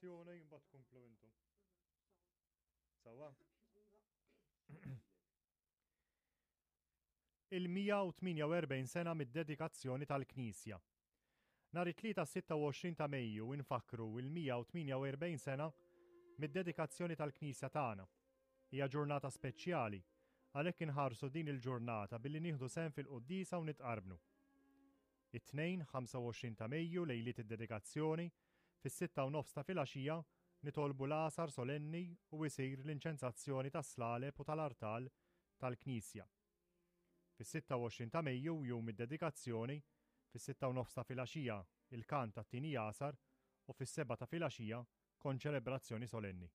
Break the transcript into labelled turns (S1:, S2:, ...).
S1: Dedikazzjoni mbagħad tkomplu intom. Sewwa? Il-148 sena mid-dedikazzjoni tal-Knisja. Nhar it-Tlieta 26 ta' Mejju infakkru il-148 sena mid-dedikazzjoni tal-Knisja tagħna. Hija ġurnata speċjali, għalhekk inħarsu din il-ġurnata billi nieħdu sehem fil-quddiesa u nitqarbnu. It-Tnejn, 25 ta' Mejju, lejliet id-dedikazzjoni, fis-sitta u nofs ta' filgħaxija, nitolbu l-għasar solenni u isir l-inċensazzjoni tas-slaleb u tal-artal tal-knisja. Fis-26 ta' Mejju, jum id-dedikazzjoni, fis-sitta u nofs ta' filgħaxija, il-kant tat-tieni għasar u fis-sebgħa ta' filgħaxija, konċelebrazzjoni solenni.